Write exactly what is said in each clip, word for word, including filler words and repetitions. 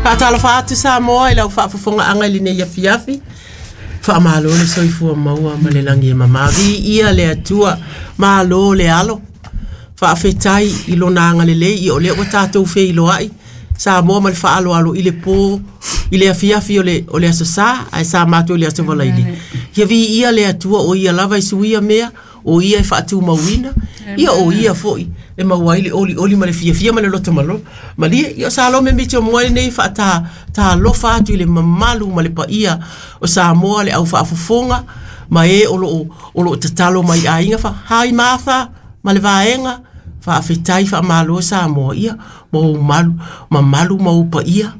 Faatalofa atu Samoa i lau faafofogaaga i lenei afiafi. Faamalo le soifua maua ma le lagi e mamā. Viia le Atua, malo le alo. Faafetai i lona agalelei, ia o lea ua tatou feiloai Samoa ma le faaaloalo i le po, i le afiafi o le, o le aso Sa, ae sa matou i le aso Faraile. Ia viia le Atua, o ia lava e suia mea, o ia e faatumauina, ia o ia foi e maua ai le olioli ma le fiafia ma le loto malo. Malie, ia o Salome Mitchell Moa lenei e faatalofa atu i le mamalu ma le paia o Samoa, le au faafofoga, ma e o loo, o loo tatalo mai aiga fa, hai Martha ma le vaega, faafetai faamalo Samoa, ia ma ou malu, mamalu ma ou paia,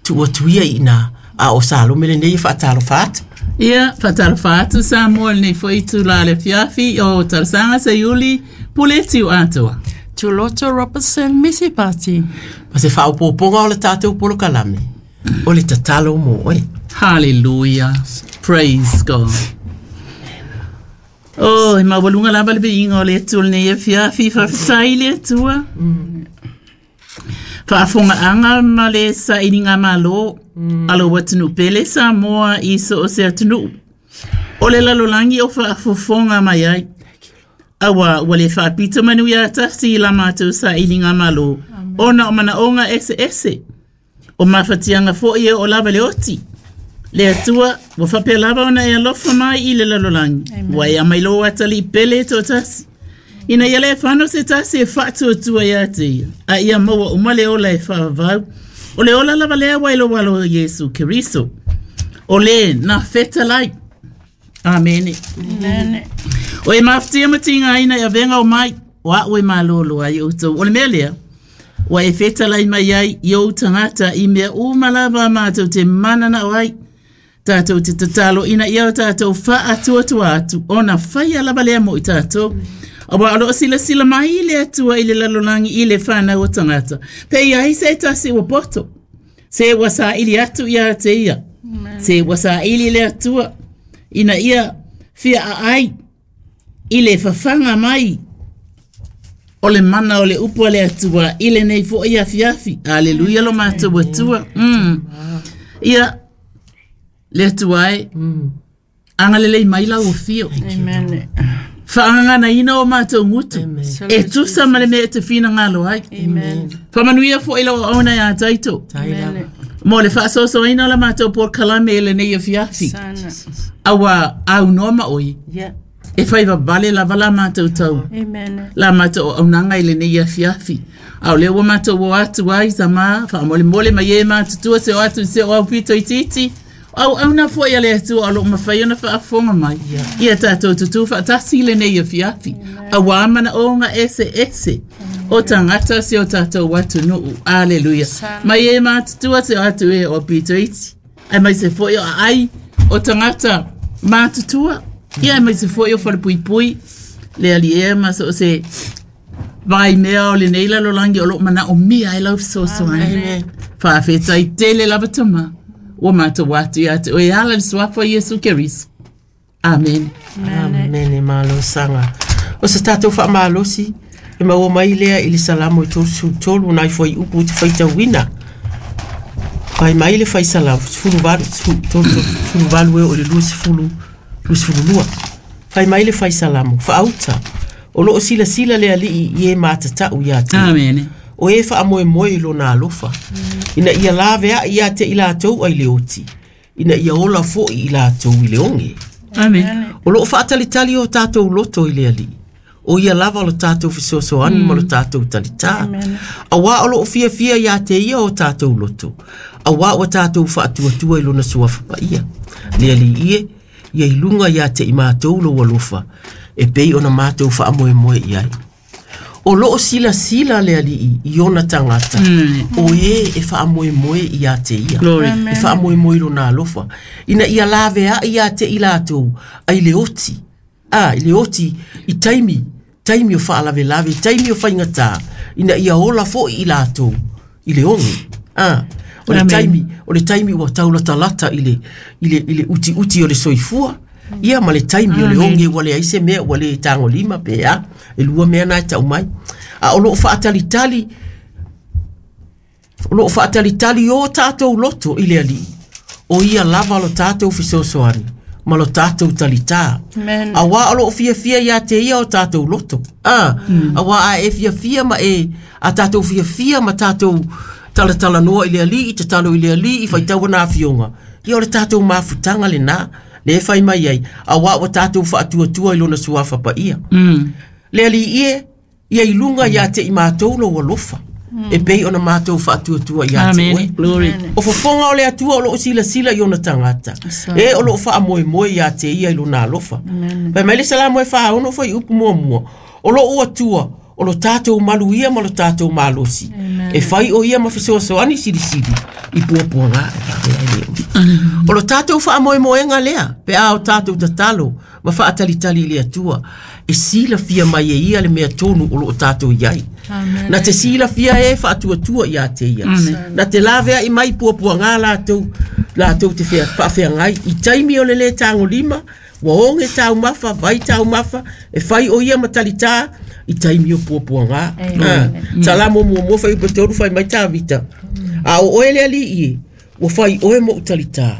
tuu atu ia i ina, a o Salome lenei e faatalofa atu. Ia, faatalofa atu Samoa i lenei foi itula o le afiafi o Talosaga Seiuli Pule Tiu Atoa. Tuloto Robertson Misi Pati. Ma se faaopoopoga o le tatou polokalame, o le tatalo mo oe. Hallelujah. Praise God. Oh, e maualuga lava le viiga o le Atua i lenei afiafi, faafetai i le Atua. Faafofogaaga ma le sailiga malo a lou atunuu pele Samoa i so o se atunuu o le lalolagi o faafofoga mai ai. Aua ua le faapito manu ia tasi i la matou sailiga malo, ona o manaoga eseese. O mafatiaga foi e oo lava i le oti. Le Atua ua faapea lava ona e alofa mai i le lalolagi. Ua e aumai lou atalii pele e toatasi. Ina ia le fano se tasi e faatuatua ia te ia, a ia maua uma le ola e faavavau. O le ola lava lea ua i lou alo o Iesu Keriso. O le na fetalai. Amene. Amen. O e mafatia ma tigaina i avega o mai, o au e malolo ai outou. O le mea lea, ua e fetalai mai ai i ou tagata i mea uma lava matou te mananao ai. Tatou te tatalo ina ia o tatou faatuatua atu, ona faia lava lea mo i tatou. Aua o loo silasila mai le Atua i le lalolagi i le fanau o tagata. Pe i ai se tasi ua poto, se ua saili atu ia te ia. Se ua saili le Atua, ina ia fia aai i le fafaga mai o le mana o le upu a le Atua i lenei foi afiafi. Aleluia lo matou Atua. Mm. Ia, le Atua e, agalelei mai lau afio. Amen. Faagaganaina o matou gutu. E tusa ma le mea e te finagalo ai. Amen. Faamanuia foi lau auauna ia Taito. Amen. Mo le faasoasoaina o la matou polokalame i lenei afiafi. Sana. Aua aunoa ma oe. Yeah. E fai vavale lava la matou tau. Amen. La matou auaunaga i lenei afiafi. A o lea ua matou o atu ai tama, faamolemole mai e matutua se o atu i se o aupito itiiti. Auauna foi a le Atua o loo mafai ona faafofoga mai. Ia tatou tutū faatasi i lenei afiafi. Auā manaoga eseese o tagata si o tatou atunuu. Aleluia. Mai e matutua se o atu e o aupito iti. Aemaise foi o aai o tagata matutua. Ia aemaise foi o falepuipui. Le alii e ma so o se vaimea o lenei lalolagi o loo manaomia ai lau fesoasoani. Faafetai tele lava tama. Ua matou atu ia te oe e ala i le suafa o Iesu Keriso. Amene. Amene malo saga. O se tatou faamalosi e maua mai lea i le Salamo e tolusefulu tolu nai fuaiupu ou te faitauina. Fai mai le fai Salamo sefulu valu tolu sefulu valu e oo i le luasefulu luasefulu lua. Fai mai le fai Salamo, faauta, o loo silasila le Alii i e matatau ia te ia. Amene. O e faamoemoe i lona alofa, ina ia laveai ia te i latou ai le oti, ina ia ola foi i latou i le oge. Amene. O loo faatalitali o tatou loto i le Alii. O ia lava o lo tatou fesoasoani ma lo tatou talitā. Auā o loo fiafia ia te ia o tatou loto. Auā ua tatou faatuatua i lona suafa paia. Le Alii e, ia i luga ia te i matou lou alofa, e pei ona matou faamoemoe i ai. O loo silasila le Alii i ona tagata, o e e faamoemoe ia te ia. Glory. E faamoemoe i lona alofa, ina ia laveai ia te i latou ai le oti. A, i le oti i taimi, taimi o faalavelave, taimi o faigata, ina ia ola foi i latou i le oge. A, o le Amen. taimi, o le taimi ua taulatalata i le, i le, i le utiuti o le soifua, ia ma le taimi o le oge ua leai se mea ua le tagolima pe a, e lua mea na e tau mai. A o loo faatalitali O loo faatalitali o tatou loto i le alii o ia lava lo tatou fesoasoani ma lo tatou talitā. Amen. Auā o loo fiafia iā te ia o tatou loto. A auā a e fiafia ma e a tatou fiafia ma tatou talatalanoa i le alii, tatalo i le alii, faitau ana afioga. Ia o le tatou mafutaga lenā le e fai mai ai, auā ua tatou faatuatua i lona suafa paia. Le alii e, ia i luga iā te i matou lou alofa, e pei ona matou faatuatua iā te Amen. oe. Glory. O fofoga o le Atua o loo silasila i ona tagata, e o loo faamoemoe iā te ia i lona alofa. Fai mai le Salamo e faono fuaiupu muamua, o loo Atua o lo tatou maluia ma lo tatou malosi, e fai o ia ma fesoasoani silisili i puapuaga e faavea ai le umi. O lo tatou faamoemoega lea pe a o tatou tatalo ma faatalitali i le Atua, e silafia mai e ia le mea tonu o loo tatou iai. Na te silafia e faatuatua iā te ia. Na te laveai mai puapuaga latou latou te fea- faafeagai i taimi o le lē tagolima, ua oge taumafa, vai taumafa, e fai o ia ma talitā i taimi o puapuaga. Ah, Salamo muamua fuaiupu tolu fai mai Tavita, a o oe le alii e, ua fai oe moʻu talitā,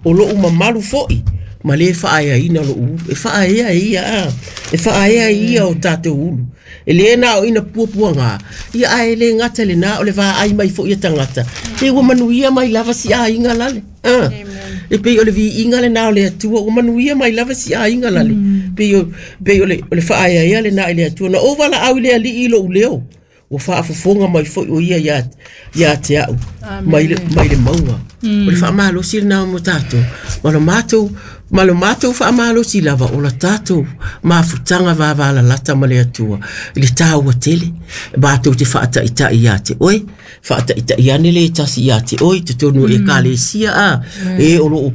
o lou mamalu foʻi ma lē faaeaina lou ulu. E faaea e ia a, e faaea e ia o tatou ulu. E lē na o ina puapuagā, ia ae lē gata lenā o le vaai mai foʻi e tagata, e ua manuia mai lava si aiga lale. Ah. E pei o le viiga lenā o le Atua, ua manuia mai lava si aiga lale. Pei o, pei o le, o le faaeaea lenā i le Atua. Na ou valaau i le alii i lou leo, ua faafofoga mai foi o ia iā, iā te au, mai le, mai le mauga. O le faamalosi lenā mo tatou, ma lo matou, ma lo matou faamalosi lava o la tatou mafutaga vavalalata ma le Atua i le tāua tele, matou te faataitai iā te oe, faataitai ane le tasi iā te oe i totonu o ekalesia a, e o loo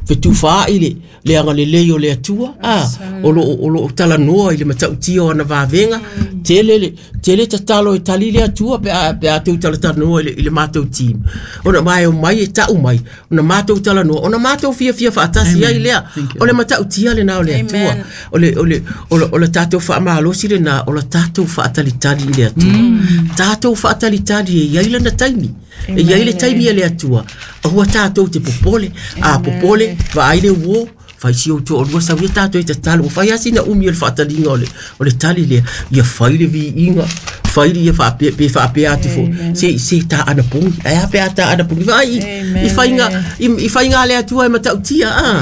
fetufaai le le agalelei o le Atua a, o loo o loo talanoa i le matautia o ana vavega, tele le tele tatalo e tali le Atua pe a pe a tou talatalanoa i le, i le matou team. Ona mae o mai e tau mai, ona matou talanoa, ona matou fiafia faatasi ai lea. O le matautia lenā o le Atua, o le o le o le, o le tatou faamalosi lenā, o le tatou faatalitali i le Atua. Tatou faatalitali e iai lana taimi. E iai le taimi e le Atua. Aua tatou te popole, a popole, vaai le uo, fai si ou toalua sau ia tatou e tatalo. Ua fai lava sina umi o le faataliga o le, o le tali lea, ia fai le viiga, fai le ia faapea, pe faapea atu foi, se, se taana pogi, ae a pe a taana pogi. Vaai i, i faiga, i, i faiga a le Atua e matautia, a,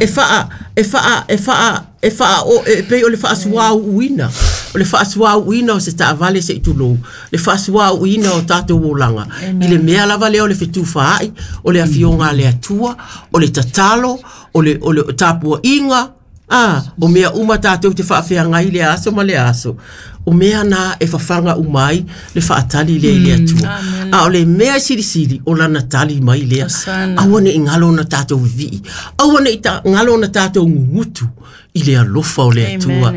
e faa, e faa, e faa, e faa, o, e pei o le faasuauuina, o le faasuauuina o se taavale se i tulou, le faasuauuina o tatou olaga, i le mea lava lea o le fetufaai, o le afioga a le Atua, o le tatalo, o le, o le tapuaiga, a, o mea uma tatou te faafeagai le aso ma le aso. O mea na e fafaga uma ai le faatali lea i le Atua. A o le mea e silisili o lana tali mai lea. Aua ne i galo ona tatou vivii, aua ne i ta, galo ona tatou gugutu i le alofa o le Atua.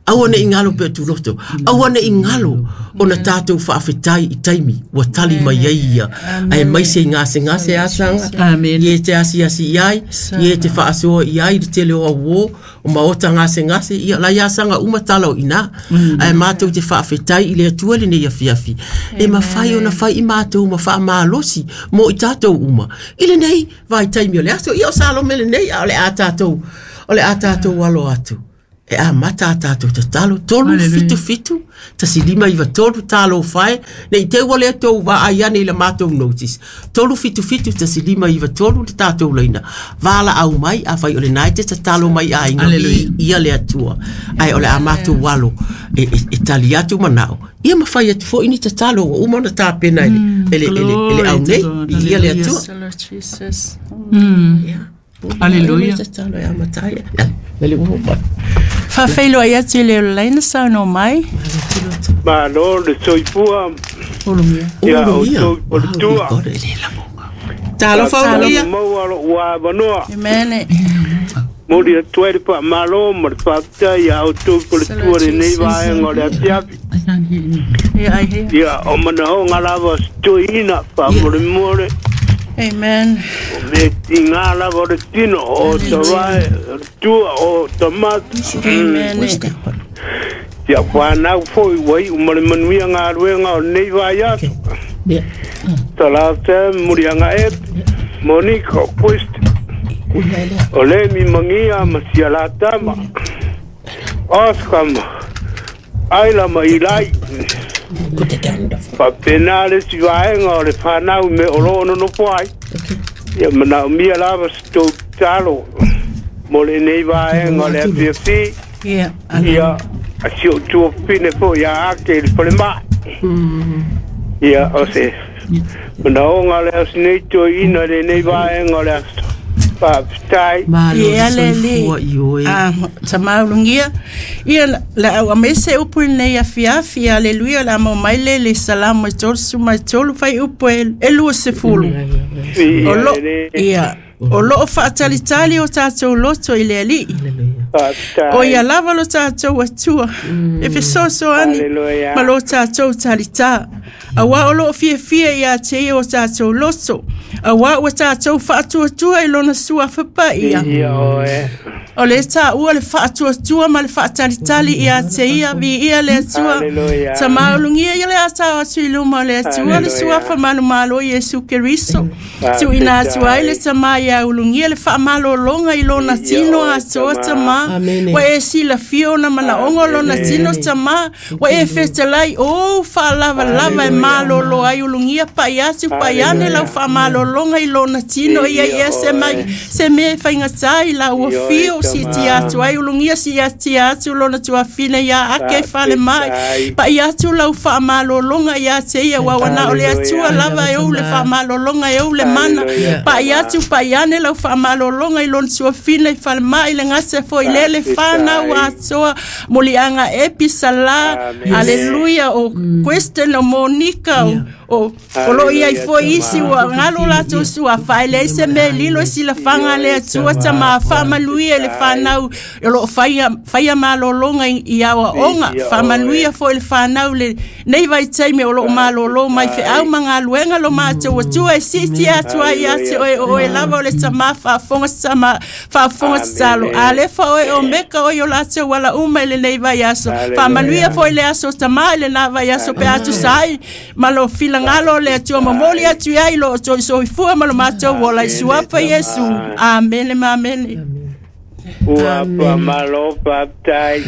Aua ne i galo pe tuloto, aua ne i galo ona tatou faafetai i taimi ua tali mai ai ia. Ae mai se gasegase asaga, Amen. ie te asiasi i ai, ie te faasoa i ai i le tele o auō, o maota gasegase, ia lai asaga uma tala o inā. Ae matou te faafetai i le Atua lenei afiafi, e mafai ona fai i matou ma faamalosi mo i tatou uma i lenei vaitaimi o le aso. Ia o Salome lenei, a o le a tatou, o le a tatou alo atu. E amata a tatou tatalo, tolu fitu fitu, tasi lima iva tolu, talo fae, nei te ua lea tou vaai ane i le matou notice. Tolu fitu fitu, tasi lima iva tolu, le tatou laina. Vala au mai, a fai o le nai te tatalo mai a inga Hallelujah. i ia le Atua. Ai o le a matou alo e, e, e tali atu manao. Ia mawhai atu fo ini tatalo, ua uma ona tāpena i le, e le, e le, e le au Glory nei, to God. i ia le Atua. Yes, Lord Jesus. Ia. Hallelujah. Tatalo e amatai. Ia, mele ua mai. Faafeiloai atu i le olaina saunoa mai. Malo le soifua Olomia. ia Olomia. outou o le tua. Wow, e le lagoga. Talofa Olomia. Maua lou avanoa. Amen. Moli atu ai le faamalo ma le faafetai ia outou o le tua lenei vaega o le afiafi. I can't hear anything. Yeah, I hear. Ia o manaoga lava o se toeaina faamolemole Amen. o mea tigā lava o le tino o tavae o le tua o tamata. Amen. Ia whanau foi ua iu ma le manuia galuega o lenei vaiaso. Yeah. Talata Murianga e Monica Quest o le mi mangia ma sia la tama Oscar aila ma ilai faapena le si vaega o le fanau me o loo nonofo ai ia manaomia lava se tou tatalo mo lenei vaega o le afiafi ia si ou tuafafine foʻi ia ake i le falemaʻi ia o se manaoga lea o sinei toeaina i lenei vaega o le aso faafetai. Ia le li ah tamaulungia ia la au amese upu nei afiafi aleluia la mo mai le le salamu tolu suma tolu fai upu e lua sefulu o lo ia o loo faatalitali o tatou loto i le alii o ia lava lo tatou atua e fesoasoani ma lo tatou talitā auā o loo fiafia ia te ia o tatou loto auā ua tatou faatuatua i lona suafa paia o le taua le faatuatua ma le faatalitali ia te ia viia le Atua tamaulugia ia le atao atu i luma o le Atua le suafa malomalo Iesu Keriso tuuina atu ai le tamā ia ulugia le faamalologa i lona tino atoa tamā ua e silafia ona manaoga o lona tino tamā ua e fetalai ou faalavalava e malolo ai ulugia pai atu pai ane lau faamalologa i lona tino ia ia se mai se mea e faigatā i lau afio si tia atu ai ulugia si atia atu lona tuafine ia ake fale mai pai atu lau faamalologa ia te ia ua o le Atua lava e ou le faamalologa e ou le mana pai atu pai ane lau faamalologa i lona tuafine i fale mai le gase foi lele fanau atoa moliaga epi salā aleluia o Kristen o Monica o o loo iai foi isi ua galo latou suafa e leai se mea e lilo e silafaga le Atua tamā faamanuia i le fanau o loo faia faia malologa i aoaoga faamanuia foi le fanau le nei vaitaimi o loo malolo mai feau ma galuega lo matou Atua e siiti atu ai ia te oe o oe lava o le tamā faafofoga tama faafofoga tatalo alefa oe o meka oe o latou alauma i lenei vaiaso faamanuia foi le aso tamā i lenā vaiaso pe a tusa ai ma lo filagalo o le Atua momoli atu ai lo outou soifua ma lo matou ola i suafa Iesu. Amene ma amene. Ua faamalo faafetai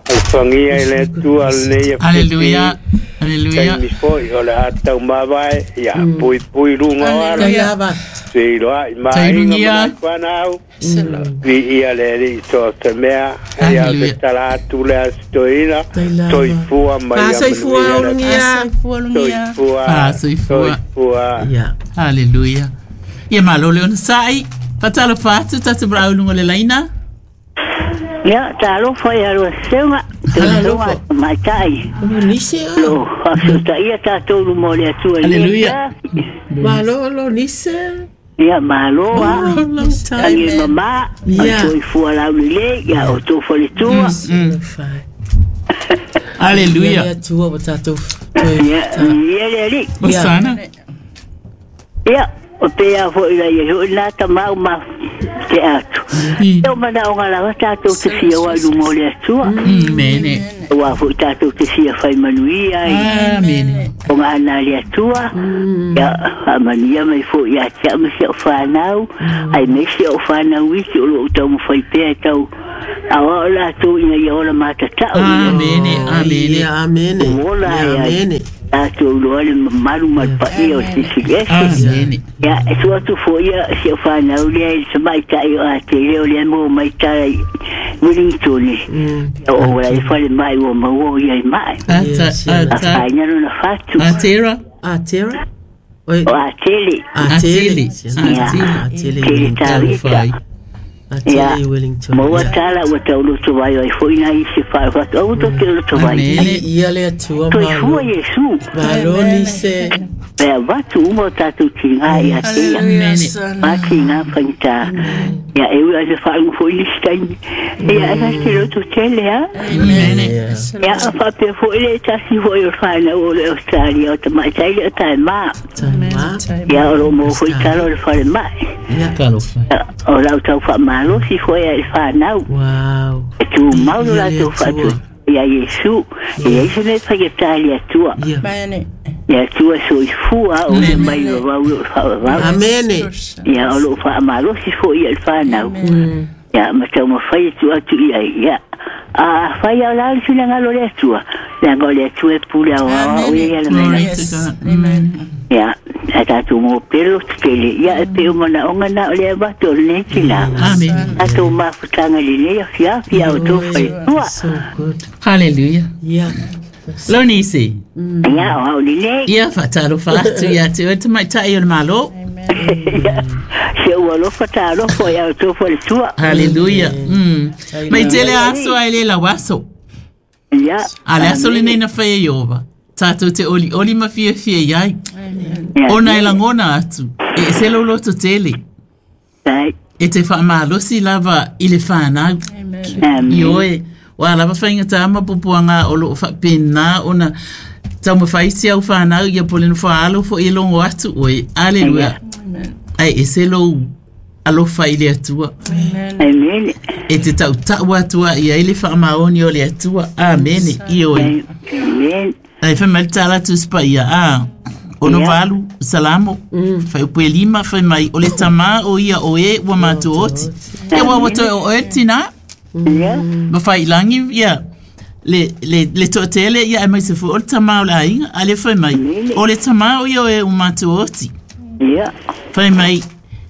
alofagia i le Atua lenei Aleluia Aleluia taimi foi o le a taumavae ia puipui luga o ala feiloai ma aiga ma fanau viia le Alii so se mea ia o se tala atu lea se toeaina soifua ma ia manuia soifua soifua Aleluia ia malo le onosai fatalofa atu tatou valaauluga o le laina. Ia talofa ia lua seuga talofa maitai nisi lo faafeutaia tatou luma o le Atua Aleluia malo lo nisi ia malo a agi mamā o soifua laulelei ia outou faletua. Aleluia le Atua ua tatou ia ia le Alii Osana ia o pea foʻi lai ai hoʻi lā tamau ma te atu e o manaoga lava tatou te fia o ai luma o le Atua mene ua foʻi tatou te fia faimanuia ai amene o gana le Atua ia faamanuia mai foʻi ia te au ma si ou fanau ai me si ou fanau isi o loo taumafai pea e tau aoao latou ina ia ola matatau amene amene amene ola ai amene tatou iloa le mamalu ma le paia o Sisi Ese amene ia e tua atu foʻi ia si ou fanau lea i le tamaitai o atele o lea mo mai tala i Wellington o la i fale mai ua maua o ia i mai ata ata afaina lona fatu atera atera o atele atele atele atele tele tavita atele Wellington maua tala ua tauloto vai ai foʻi nai se faafatu au to te loto vai Amene. ia le Atua soifua Iesu malo nise e avatu uma o tatou tigā ia te ia matigā faigata ia e ui ai faauga foʻi lisi taimi ia e te loto tele a amene ia faapea foʻi le tasi foʻi o le fanau o le Australia o tamaitai le o taemā ia o loo maua foʻi tala o le falemaʻi talofa o lau tau faamalosi foʻi ai le fanau wow e tumau lo latou faatu Ia Iesu e ai se mea faigata i le Atua. Le Atua soifua o le mai vavau i lou faavavau. Amene. Ia o loo faamalosi foʻi ia le fanau. Ia ma taumafai e tuu atu i ai. Ia a fai ao la le finagalo o le Atua. Leaga o le Atua e pule aoao o ia le mea. Ia a tatou mopelo tetele. Ia e pei o manaoga na o le avatu o lenei tinā. Tatou mafutaga i lenei afiafi a outou faletua. So good. Hallelujah. Yeah. Lonisi. Ia o au lenei. Ia faatalofa atu ia te oe tamaitai o le Malo. Se ua alofa talofa ia outou faletua. Hallelujah. Mm. Mai tele aso ai le lau aso. Ia. A le aso lenei na faia Ieova. Tātou te oli oli ma fiafia iai. Ona e lagona atu. E ese lou loto tele. E te faamalosi lava i le fanau. Ioe. Ua lava faigata ma pupuaga o loo faapena ona taumafai si au fanau ia po le nofoaalo foʻi e logo atu oe. Aleluia. Ae ese lou alofa i le Atua. Amen. E te tautau atua i ai le faamaoni o le Atua. Amene. Ioe. Amen. Ai fai mai le tala tusi paia a ono valu salamo fai upu e lima fai mai o le tamā o ia o e ua matou oti. Ia ua ua toe o oe le tinā. Ma faiilagi ia le le le toatele ia e mai se foʻi o le tamā o le aiga a le fai mai o le tamā o ia o e ua matou oti. Fai mai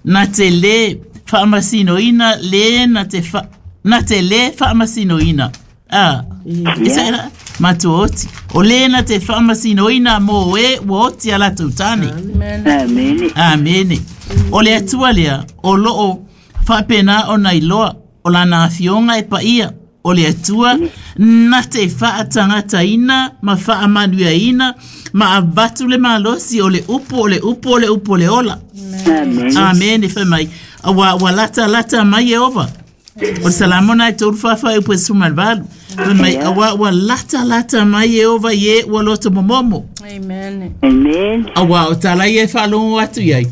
na te lē faamasinoina lē na te fa na te lē faamasinoina a isa ela matou oti o lē na te faamasinoina mo e ua oti a latou tane. Amene. Amene. O le Atua lea o loo faapena ona iloa o lana afioga e paia o le Atua na te faatagataina ma faamanuiaina ma avatu le malosi o le upu o le upu o le upu o le ola. Amene. Amene. Fai mai ua ua lata lata mai Ieova. O le salamo na e tolu faafaai upu e sefulu ma le valu. Fai mai auā ua lata lata mai Ieova i e ua loto momomo. Amen. Amen. Auā o tala ia e faalogo atu iai.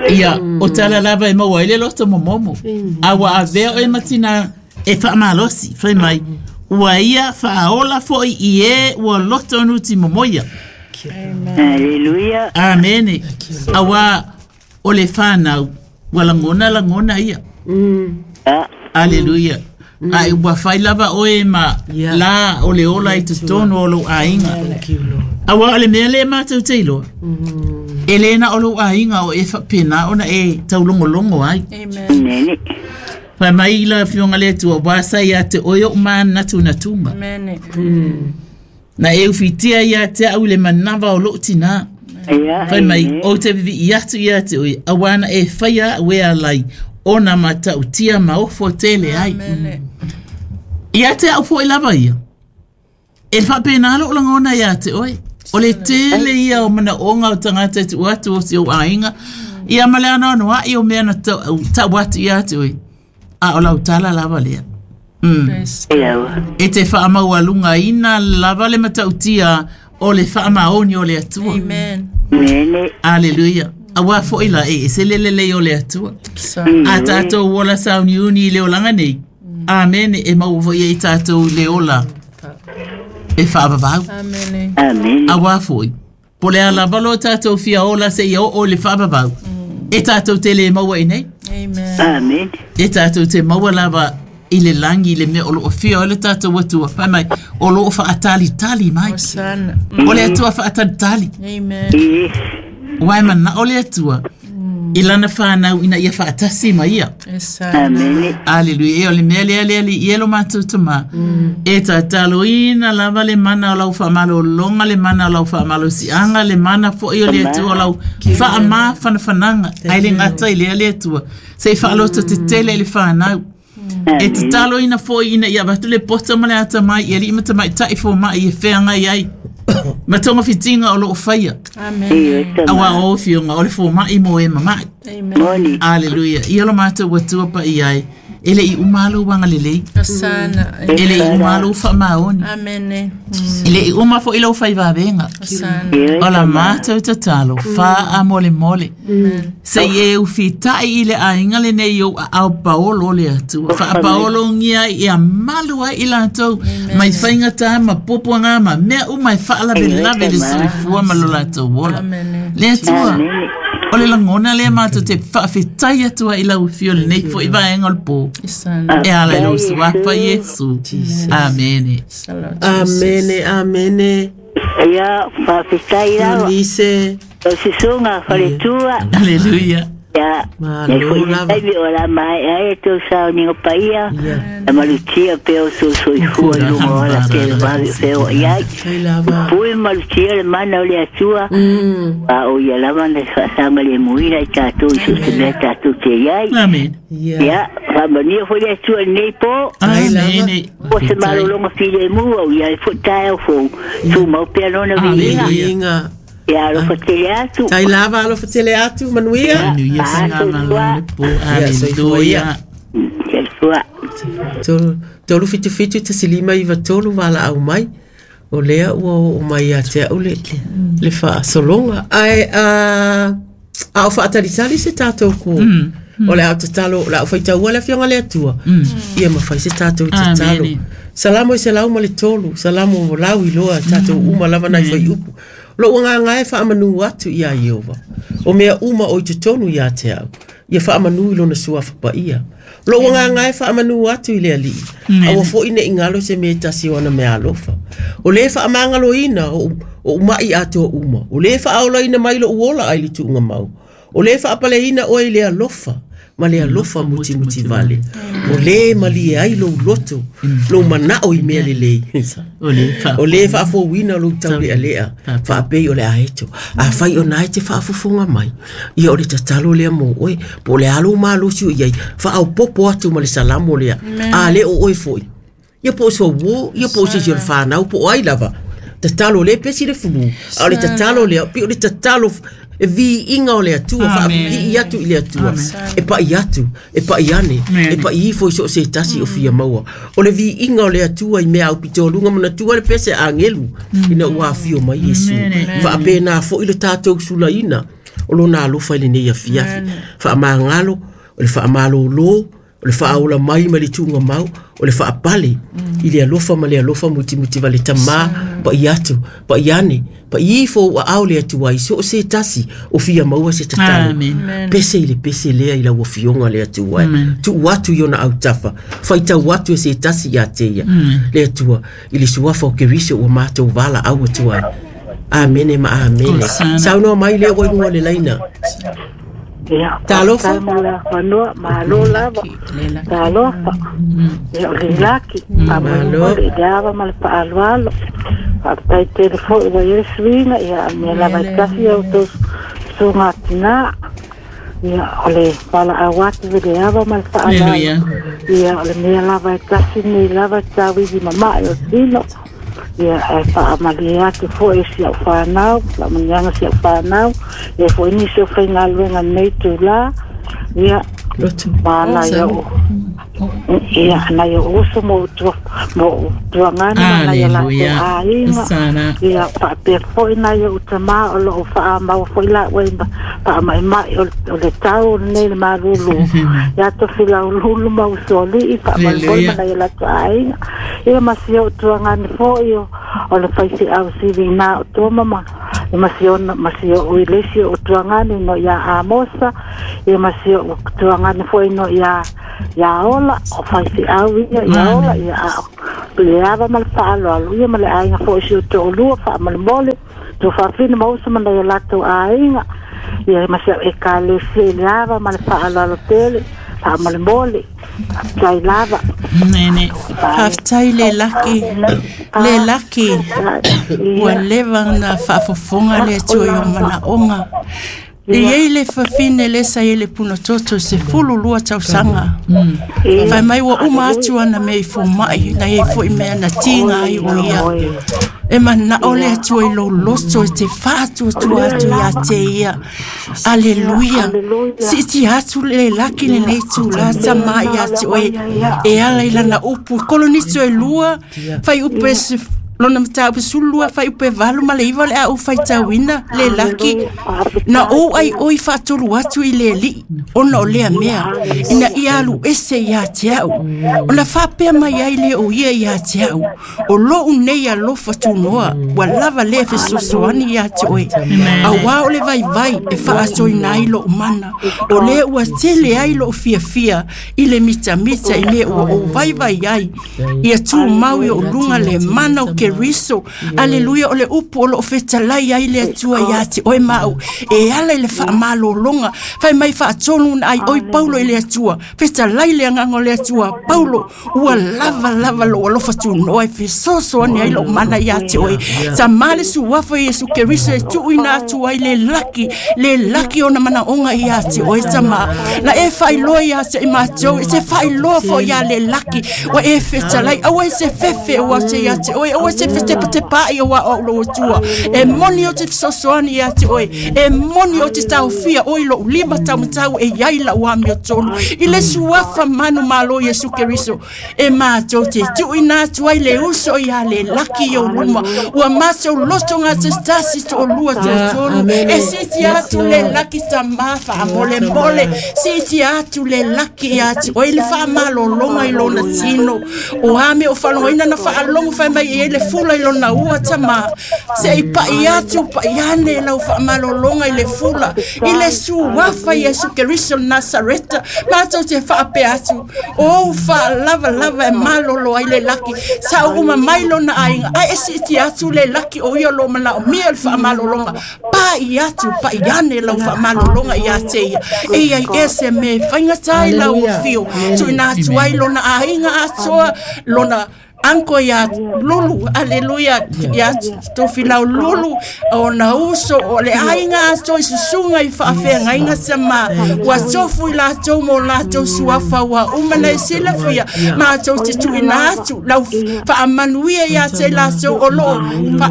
Ia o tala lava e maua ai le loto momomo. A ua avea oe matina e faamalosi. Fai mai ua ia faaola foʻi i e ua loto nuti momoia. Aleluia. Amene. Auā o le fanau ua lagona lagona ia. Aleluia. Ai ua fai lava oe ma la o le ola i totonu o lou aiga. Auā o le mea lea matou te iloa. E lē na o lou aiga o e faapena ona e taulogologo ai. Amen. Fai mai la afioga le Atua ua sa ia te oe oʻu manatunatuga. Amen. Na e ufitia ia te au i le manava o loo tinā. Ia. Fai mai ou te vivii atu ia te oe auā na e faia a'u e alai ona matautia ma ofo tele ai. Ia te au foʻi lava ia. E faapena loo lagona ia te oe. O le tele ia o manaoga o tagata e tuu atu o si ou aiga. Ia ma le anoanoaʻi o mea na tau atu ia te oe. A o lau tala lava lea. Mm. E te faamaualugaina lava le matautia o le faamaoni o le Atua. Amen. Amen. Aleluia. Auā foʻi la e ese le lelei o le Atua. A tatou ola sauniuni i le olaga nei. Amene. E maua foʻi ai tatou i le ola e faavavau. Amen. Amen. Auā foʻi po le a lava lo tatou fia ola seia oo i le faavavau. E tatou te lē maua i nei. Amen. Amen. E tatou te maua lava i le lagi i le mea o loo fia o le tatou Atua. Fai mai o loo faatalitali mai. Hosanna. O le Atua faatalitali. Amen. Yes. Ua e manao le Atua i lana fanau ina ia faatasi ma ia. Hosanna. Amen. Aleluia. E o le mea lea lea li ia lo matou tamā. E tataloina lava le mana o lau faamalologa le mana o lau faamalosiaga le mana foʻi o le Atua o lau faamafanafanaga ai le gata i lea le Atua sei faaloto tetele i le fanau. E tataloina foʻi ina ia avatu le poto ma le atamai i alii ma tamaitai fomaʻi e feagai ai ma togafitiga o loo faia. Amen. Auā o afioga o le fomaʻi mo e mamaʻi. Amen. Moni. Aleluia. Ia lo matou Atua paia ai. E le i umalo wanga lelei. Asana. E le i umalo wha maoni. Amene. E le i uma fo ilo whai vavenga. Asana. O la mātou tatalo, wha a mole mole. Se i e ufitai i le ainga le nei o au paolo le atua. Wha a paolo ngia i a malua i lātou. Mai whainga tā ma popo ngā ma mea u mai whaalawe lave le soifua ma lo lātou wola. Le atua. O le langona le mātou te whaafetai atua i lau fio le nei fo i vaenga o le pō. E ala i lau suapa Yesu. Amene. Amene, amene. Ia, whaafetai lawa. Ulise. O sisunga, whaletua. Hallelujah. Ia, Malo lava. Nei o la mai ai tō sao ningo paia. A malutia peo so soifua lunga o la te vave feo iai. Tai lava. Pui malutia le mana o le atua. A o ia lava na whaasanga le muina i tātou i so se mea tātou te iai. Amen. Ia, whamania fo le atua nei po. Amen. O se malolonga file mua o ia e fo tae o fo. Tu mau pea nona viinga. Viinga. Ia, alofa tele atu. Tai lava, alofa tele atu, manuia. Manuia, singa malolo po. Hallelujah. Soifua. Tolu, tolu fitu fitu tasi lima iwa tolu wala au mai. O lea ua o mai a te au le, le whaasolonga. Ai, a, a o whaatalitali se tātou ko. O le au tatalo, le au whaitaua le whionga le atua. Ia mawhai se tātou tatalo. Salamo i se lau ma le tolu, salamo o lau i loa tātou uma lava nai whai upu. Lo ua ngā e whaamanu atu ia Iova. O mea uma o i te tonu ia te au. Ia whaamanu i lona sua whapaia. Lo ua ngā e whaamanu atu i le alii. Aua fo ine ingalo se me tasi o ana mea alofa. O le whaamangalo ina o, o umai atu o uma. O le whaaola ina mai lo uola ai li tuunga mau. O le whaapale ina o i le alofa. Ma le alofa muti muti vale. O le mali ai lo loto. Lo manao i mea le lei. O le whaafo wina lo tau le alea. Whaapei o le aeto. A whai o nai te whaafofonga mai. Ia o le tatalo lea mo oe. Po le alo malosi o iai. Whaau popo atu ma le salamo lea. A le o oe foi. Ia po o sua wo. Ia po o se o le whanau. Po o ai lava. Tatalo le pesi le fulu. A o le tatalo lea. Pi o le tatalo e vi inga o le atua, wha i atu i le atua. E pa i atu, e pa i ane, e pa i ifo i so se tasi o fia maua. O le vi inga o le atua i mea au pito lunga mana tua le pese angelu, ina ua fio mai Yesu. Wha apena fo i le tātou sulaina, o lona alofa i le nei afiafi. Wha mangalo, o le wha malolo, o le wha mai ma le tūnga mau, o le wha apale, i le alofa ma le alofa muti muti vale tamā, pa i atu, pa i ane, pa i ifo ua au le atua i so se tasi, o fia maua se tatalo. Pese i le pese lea i la ua fionga le atua. Tu atu i ona au tafa, whaitau atu e se tasi ia te ia. Le atua, i le suafa o kerise ua mātou wala au atua. Amene ma amene. Saunoa mai lea ua inua le laina. Ia, Talofa. Whanua, malo lava. Talofa. Ia, o le laki. Malo. Le ava ma le paaloalo. Whaapatai tele fo i wa Yesu ina. Ia, mea lava i kasi au tō sunga tina. Ia, o le pala awatu ve le ava ma le paaloalo. Ia, o le mea lava i kasi nei lava tauivi mamae o tino. Ia, e whaamali atu fo e si au whanau, la manianga si au whanau, e fo ini se o whainga luenga nei tū la, ia, maana ia o, ia, na ia oso mo tua, mo tuangana na ia la te ainga, ia, whaapea fo ina ia utama o lo o whaamau fo ila ue, whaamaimai o le tau o nei le marulu, ia to fila ululu ma usoli, whaamali na ia la te ainga, ia masi o tuangana fo ia, o le whaisi au siwi nā o tō mama, ia masi o, masi o uilesi o tuangani no ia Amosa, ia masi o tuangani fo no ia ia ola, o whaisi au ia, ia ola, ia au. Le ava ma le whaaloalo, ia ma le ainga fo isi o tō olua, wha ma le mole, tō whawhina mausa mana ia lātou ainga, ia masi au e ka lesi le ava ma le whaaloalo tele, wha ma le mole, tai lava. Nene. Whaftai le laki, le laki, ua lewa na whaafofonga le atua i o mana onga. E iai le fafine le sa i le punatoto se fulu lua tausaga. Fai mai ua uma atu ana mea i fomai na iai fo'i mea na tiga ai o ia. E mana'o le Atua i lou loto e te faatuatua atu iā te ia. Aleluia. Siiti atu le laki lenei tulā tamā iā te oe e ala i lana upu. Kolonito e lua, fai upu e se lona mataupu sulu fai upe valu ma le iva le au faitauina le laki na ou ai oi faatolu atu i le alii ona o lea mea ina ia alu ese iā te au ona faapea mai ai le o ia iā te au o lou nei alofa tunoa ua lava lea fesoasoani iā te oe auā o le vaivai e faatoina ai lou mana o lea ua tele ai lou fiafia i le mitamita i mea ua ou vaivai ai ia tumau i ou luga le mana o Keriso. Aleluia o le upu o loo fetalai ai le Atua iā te oe ma au e ala i le faamalōloga fai mai faatonu na ai oi Paulo i le Atua fetalai le agaga o le Atua Paulo ua lava lava lou alofa tunoa e fesoasoani ai lou mana iā te oe tamā le suafa Iesu Keriso e tuuina atu ai le laki le laki ona manaoga iā te oe tamā na e faailoa iā te i matou e te faailoa foʻi iā le laki ua e fetalai aua e se fefe ua te iā te oe aua e se fetepatepaʻi o aʻo lou Atua e moni o te fesoasoani iā te oe e moni o te taofia oi lou lima taumatau e iai lau amiotonu i le suafa manu malo Iesu Keriso e matou te tuuina atu ai le uso iā le laki i ou luma ua matou loto gatasitasi toʻalua toatolu e siti atu le laki tamā faamolemole siti atu le laki iā te oe le faamalōloga i lona tino o a mea o faalogoina na faalogo fai mai e ai le fula i lona ua tamā seʻi paʻi atu paʻi ane lau faamalōloga i le fula i le suafa Iesu Keriso Nasareta matou te faapea atu o ou faalavalava e malolo ai le laki sa uma mai lona aiga ae e siiti atu le laki o ia lo manaomia le faamalōloga paʻi atu paʻi ane lau faamalōloga iā te ia e iai ese me faigatā i lau afio tuuina atu ai lona aiga atoa lona anko ia lulu aleluia ia tofilau lulu o na uso o le aiga atoa i susuga i faafeagaiga sama ua tofu i latou mo latou suafa ua uma na e silafia matou te tuuina atu lau faamanuia iā te latou o loo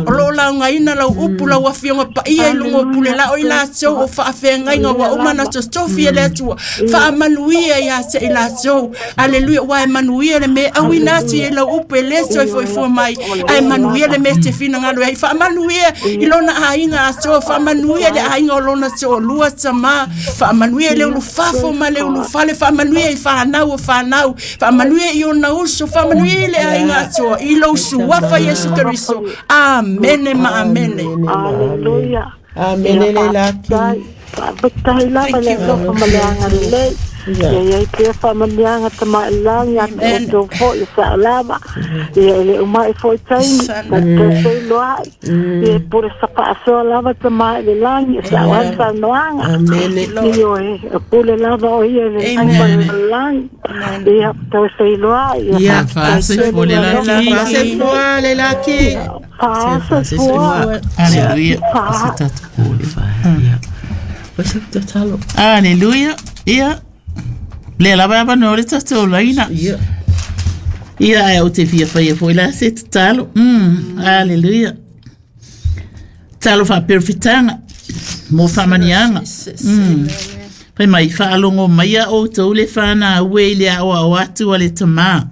o loo laugaina lau upu lau afioga paia i luga o pule lao i latou o faafeagaiga ua uma na totofi e le Atua faamanuia iā te i latou aleluia ua e manuia le mea auina atu i lau upu e le toe foifua mai ae manuia le mea te finagalo ai faamanuia i lona aiga atoa faamanuia le aiga o lona toalua tamā faamanuia i le ulufafo ma le ulufale faamanuia i fanau o fanau faamanuia i ona uso faamanuia i le aiga atoa i lou suafa Iesu Keriso amene ma amene. Aleluia. Amene le laki. Faafetai lava le alofa ma le agalelei. Ia iai pea faamaniaga tamaʻilagi atu outou foʻi saʻalava ia e le umaʻi foʻi taimi tatou ia e pule sapaasoa lava tamaʻi le lagi e saʻo ai saunoaga ioe e pule lava o ia i le lagi ma le lagi ia toe feiloai ia faasoifua le laki faasoifua le laki faasoifua aleluia aleluia ia le lava ava no le tatou laina. Ia. Ia ae o te fia whaia foi la se tatalo. Mm, aleluia. Talo whaaperewhitanga. Mō whamanianga. Mm. Pai mai whaalongo mai a outou le whana ue i le aoa o atu a le tamā.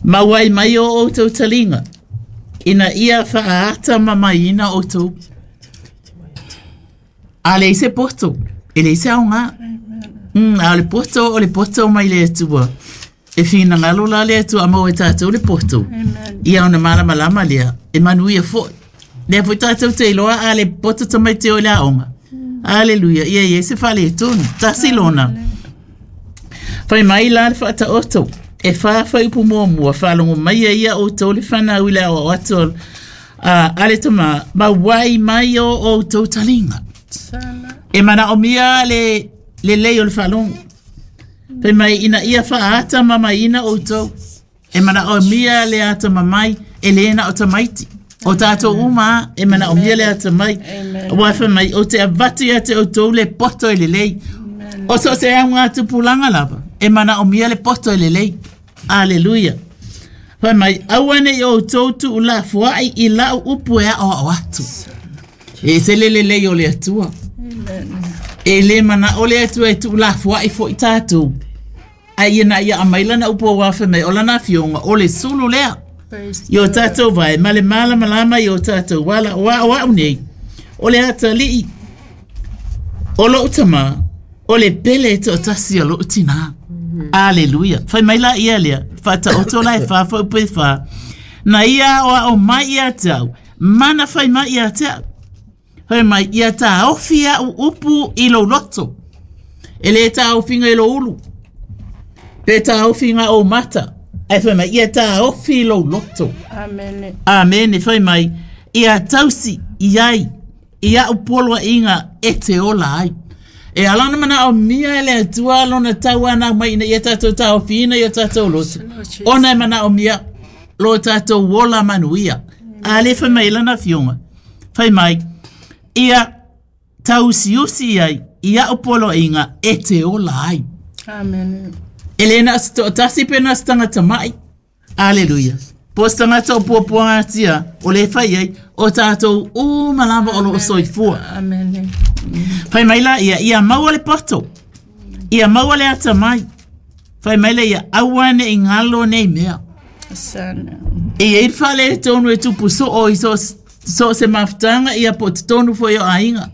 Mauai mai o outou talinga. Ina ia whaata mamaina outou. A le se poto. E le se aonga. Mm, a le poto o le poto mai le atua. E whina ngalo la le atua a mau e tātou le poto. Ia ona malama lama lea. E manuia foi. Lea foi tātou te iloa a le poto tamai te o le aonga. Aleluia. Ia ia se whale e tonu. Tasi lona. Whai mai la le whaata oto. E wha whai upu mua mua. Whalongo mai ia o tō le whanau i le awa o uh, ale tama. Ma wai mai o o tō talinga. E mana o mia le le lei o le whalongo. Whai mai ina ia whaata mama ina o tō. E mana o mia le ata mamai e le na o tamaiti. O tātou uma e mana o mia le ata mai. Ua wha mai o te avatu ia te o tau le poto e le lei. O so se au ngā tupulanga lava. E mana o mia le poto e le lei. Aleluia. Wha mai awane i o tau tu ula fuai i lau upu e ao ao atu. E se le le lei o le atua. E le mana o le atua e tu ula fuai fo i tātou. Ai ia na ia amaila na upu o wawha mai o lana fionga o le sulu lea. I o tātou vai, ma le mala malama i o tātou wala o a o au nei. O le atalii, o lo utama, o le pele e te o tasi o lo utina. Aleluia. Whai mai la ia lea, whata oto la e wha wha upe wha. Na ia o a o mai ia tau, mana whai mai ia tau. Whai mai ia tā ofi a upu i lo loto. E le tā ofinga i lo ulu. Pe tā ofinga o mata. Ai whai mai, ia tā ofi lo loto. Amen. Amen. Whai mai, ia tausi iai, ia upolwa inga e te ola ai. E alana mana o mia ele atua lona tau ana mai ina ia tātou tā ofi ina ia tātou loto. Ona e mana o mia lo tātou ola manuia. Ale whai mai lana fionga. Whai mai, ia tausiusi iai, ia upolwa inga e te ola ai. Amen. Elena sto tasi pena stanga tamai. Aleluia. Po stanga o puapuanga tia o le whai ai o tātou o malava o lo soifua. Amen. Whai mai la ia ia maua le poto. Ia maua le ata mai. Whai mai la ia awane i ngalo nei mea. Sana. E ei whale tonu e tupu so o i so, so se mafutanga ia po te tonu fo i o ainga.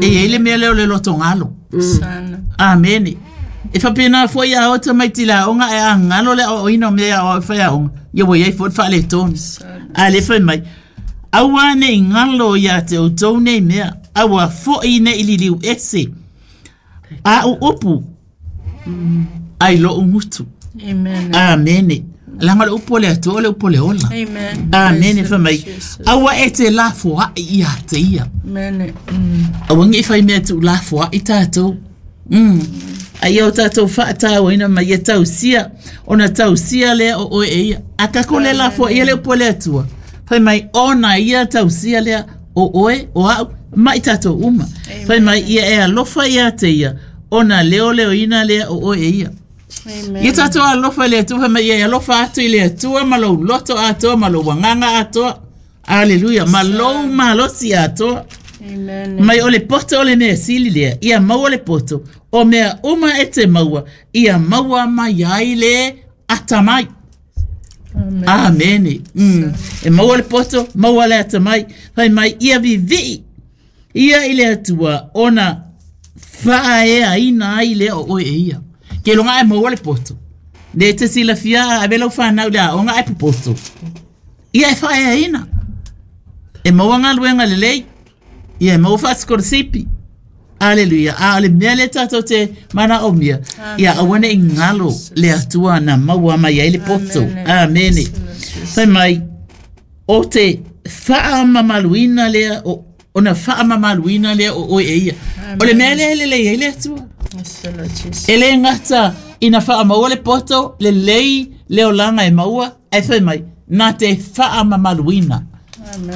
E ei le mea leo le loto ngalo. Sana. Amen. E whapena fo ia ota mai tila onga e a ngalo le o ino mea o whai onga. Ia wai ei fo whale tonu. A le whai mai. Aua ne i ngalo ia te o tau nei mea. Aua fo i ne i liliu ese. A u upu. Ai lo ungutu. Amen. Amen. Langa le upu le atua le upu le ola. Amen. Amen. Whai mai. Aua e te la fua i ia te ia. Amen. Aua ngi whai mea tu la fua i tātou. Mm. Ai o tātou whaatau ina mai e tausia, ona tausia lea o oe e ia. A kako le la fua ia le upu le atua. Whai mai ona ia tausia lea o oe o au mai tātou uma. Whai mai ia e alofa ia te ia, ona leo leo ina lea o oe e ia. Amen. Ia tātou alofa le atua, whai mai ia e alofa atu i le atua, ma lou loto atoa, ma lou wanganga atoa. Aleluia, ma lou malosi atoa. Amen. Mai o le poto o le mea sili lea, ia maua le poto, o mea uma e te maua, ia maua mai ai le atamai. Amen. Amen. Mm. E maua le poto, maua le atamai, whai mai ia vivii, ia i le atua, ona whaea ina ai lea o oe e ia. Ke longa e maua le poto. Le te sila fia a velo whanau lea, onga e popoto. Ia e whaea ina. E maua ngā luenga le lei, ia e maua whatsikorosipi. Aleluia. A le mea le tātou te mana o mea. Ia awane i ngalo le atua na maua mai ai le poto. Amen. Whai mai, o te whaamamaluina lea, o, ona whaamamaluina lea o oe e ia. O le mea lea le lei ai le atua. E le ngata ina whaamaua le poto, le lei leo langa e maua, ai whai mai, nā te whaamamaluina.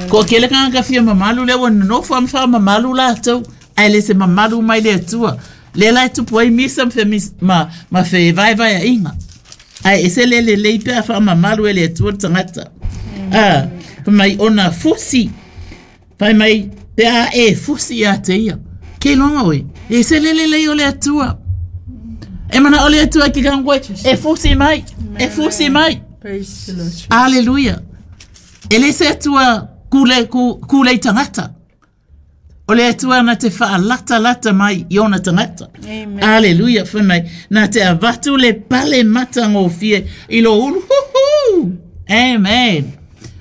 Ko kele kanga fia mamalu le ua nonofo am wha mamalu lātou, ai le se mamalu mai le atua. Le lai tupu ai misa ma, ma, ma fe vai vai a inga. Ai ese le le lei pea wha mamalu e le atua tangata. Ah, mai ona fusi. Fai mai pea e fusi a te ia. Ke longa oe. E se le le lei o le atua. E mana o le atua ki kangwe. E fusi mai. E fusi mai. Aleluia. E le se atua kule, ku, kule tangata. O le atua na te whaalata lata mai i ona tangata. Amen. Aleluia. Whai mai. Na te avatu le pale matangofie i lo ulu. Huhu. Amen.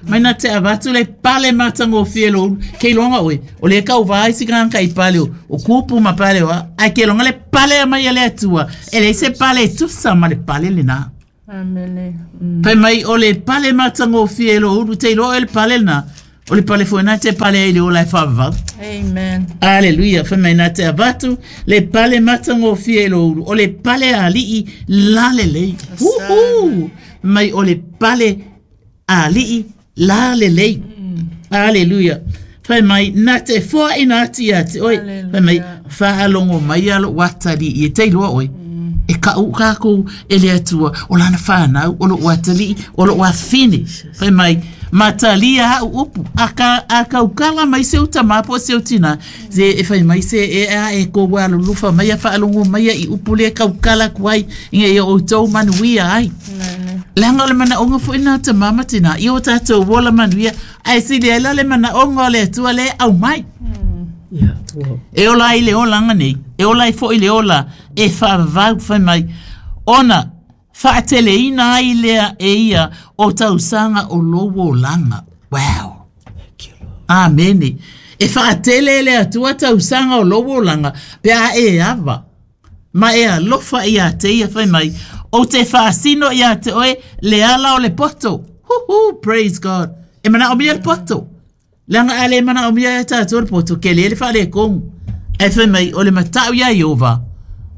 Mai na te avatu le pale matangofie lo ulu. Ke longa oe. O le kau vai si kanga i pale o. O kupu ma pale oa. Ai ke longa le pale a mai a le atua. E le se pale tusa ma le pale le nā. Amen. Mm. Pai mai o le pale matangofie lo ulu. Te ilo e le pale nā. O le pale fo nā te pale e le ola e whavavau. Amen. Aleluia. Whai mai nā te avatu le pale matangofie lo ulu. O le pale alii la le lei. Uhu. Mai o le pale alii la le lei. Hallelujah. Fai mai, nā te foa ina ati ati, oi. Fai mai, whaalongo mai alo watali i e teiloa oi. E ka u kākou e le atua, o lana whānau, o lo watali, o lo wafine. Fai mai, matalia hau upu, a ka, a kaukala mai se uta mapo se utina. Se e fai mai se e a e ko walo lufa mai a whaalongo mai a i upu le kaukala kuai, inga i o tau manuia ai. Langa o le mana onga fo ina te mama tina, i o tātou wola manuia, ai si le le mana onga le atua le au mai. Yeah, wow. E ola i le olanga nei, e ola i fo i le ola, e whaavau whai mai, ona, whaatele ina ai lea e ia o tausanga o lowo langa. Wow. Amene. E whaatele le atua tausanga o lowo langa, pe a e ava. Ma e alofa ia te ia whai mai, o te whaasino ia te oe, le ala o le poto. Huhu, praise God. E mana o mia le poto. Langa ale mana o mia e tātou le poto, ke le le whaale kongu. E whai mai, o le matau ia Iova,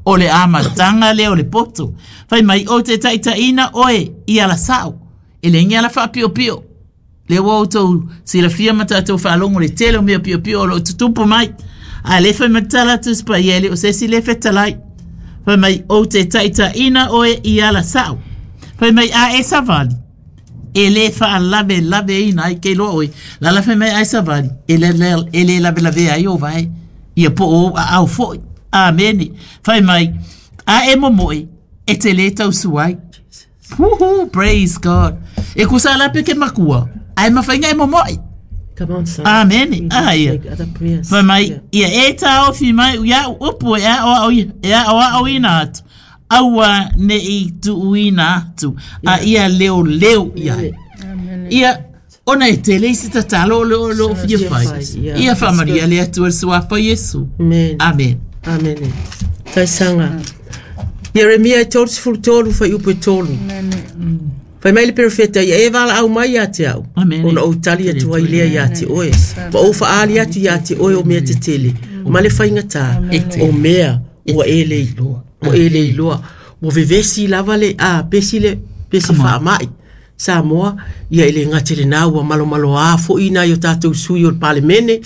o le amatanga le o le poto. Whai mai, o te taitaina oe i ala sao. E le ngi ala whaapio pio. Le wau tau silafia ma tātou whaalongo le tele o mea pio pio o lo tutupu mai. A le whai matala tuspa i ele o sesi le whetalai. Whai mai, o te taitaina oe i ala sao. Whai mai, a e savali. E le whaalave lave ina ai ke loa oe. Lala whai mai ai savali. E le, le, e le lave lave ai o vai. Ia po o a au foi. Amene. Whai mai, a e momoe, e te le tausuai. Woohoo, praise God. E kusa lape ke makua. Ai mawhainga e momoe. Come on, son. Amene. Ah, ia. Whai mai, ia e tāofi mai, ia upu e a o e a o ina atu. Aua ne i tuuina atu. A ia leo leo ia. Ia, ona e tele i se tatalo o leo leo fia whai. Ia whamaria le atua le suafa Yesu. Amen. Amen. Amen. Taisanga. Jeremia e tolu sefulu tolu whai upu e tolu. Whai mai le perofeta ia e wala au mai ia te au. Ona o tali atu ai lea ia te oe. Ma o whaali atu ia te oe o mea te tele. Ma le whainga o mea ua e le iloa. O e le iloa. Mo vevesi lava le a pesi le pesi whaamai. Samoa, ia ele ngate le nā ua malo malo a fo ina i o tātou sui o le palemene,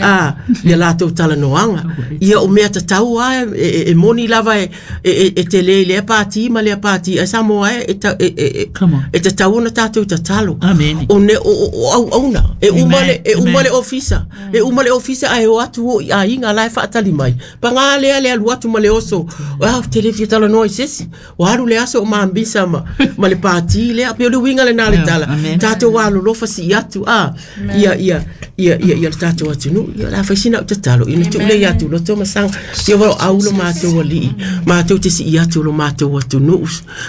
a, ia lātou talanoanga. Ia o mea tatau a, e, e, e moni lava e, e, e te le lea pāti ma lea pāti, a Samoa e, e, e, e, e tatau ona tātou tatalo. Amen. O ne, o, o, o au auna, e uma le, e uma le ofisa, e uma le ofisa a e o atu o i a inga lai whaatali mai. Pa ngā lea lea luatu ma le oso, o au te le fia talanoa i sesi, o haru le aso o maambisa ma, ma le pāti lea, pe o le winga le nā le tala. Tātou wā lolofa si atu a ia ia ia ia ia tātou atu nu ia la faisina o tatalo ina tu le atu loto masanga ia wa au lo mātou ali mātou te si atu lo mātou atu nu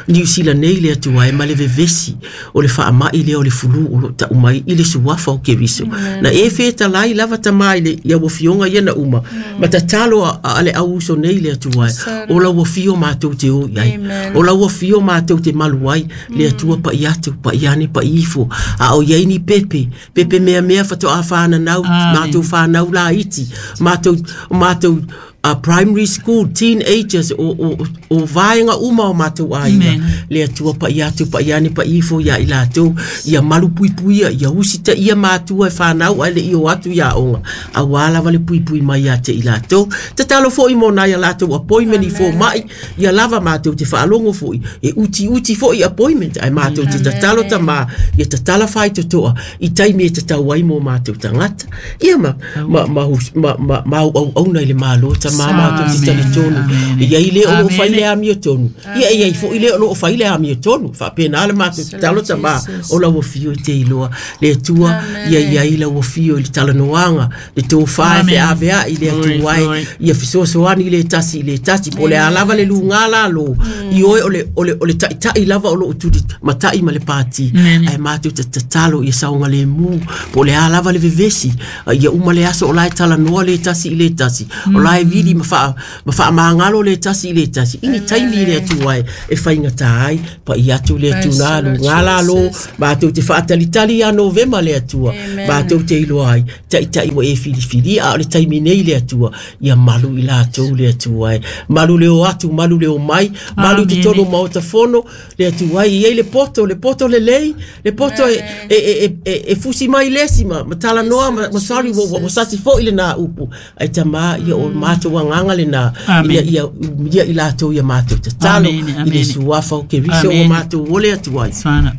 New Zealand nei le atu ai ma le vevesi o le whaamai le o le fulu o lo ta umai i le suafa o Keriso na e wheta lai lava tamai le ia wafionga ia na uma ma tatalo a, a le auso nei le atu ai o la wafio mātou te o iai o la wafio mātou te malu ai le atua pa i atu pa i ane pa ifo a o iai ni pepe pepe mea mea whato a whanau mātou whanau la iti mātou mātou uh, primary school teenagers o o o vaenga uma o mātou aina le atua pa i atu pa i ane pa ifo ia i lātou ia malu puipuia ia usita ia mātua e whanau ai le i o atu ia onga a wala wale puipui mai ia te i lātou tatalo fo i mona ia lātou appointment i fo mai ia lava mātou te whaalongo fo i e uti uti fo i appointment ai mātou te tatalo tama ia tatala whai totoa i taimi e tatau ai mō mātou tangata ia ma ma ma ma ma ma au au nei le malo ta mama tu te tali tonu ia i le o whai le amio tonu ia ia i fo i le o whai le amio tonu whapena le mātou te talo tama o la wafio i te iloa le atua ia ia i la wafio i le talanoanga le tō whae fe avea i le atua ai ia fisoasoani i le tasi i le tasi po le alava le lunga la lo i oe o le o le o le ta'itai lava o lo tuli matai ma le pāti ai mātou te tatalo ia saunga le mū po le alava le vevesi ia uma le aso o la e talanoa le tasi i le tasi o la e vili ma wha ma wha maangalo le tasi i le tasi ini taimi le atu ai e whaingata ai pa i atu le atu nā lu ngā la lo mātou te whaatalitali a Novema le atua mātou te iloa ai ta'itai wa e whiliwhili a o le taimi nei le atua ia malu i lātou le atua ai malu le o atu malu le o mai malu te tonu maota fono le atua ai i ei le poto le poto poto lelei le poto e e e e fusi mai lesi ma ma talanoa ma ma sorry wo wo sati fo'i lena upu ai tamā ia o matou agaga lenā ia ia ia i latou ia matou tatalo i le suafa o Keriso ua matou ole atu ai.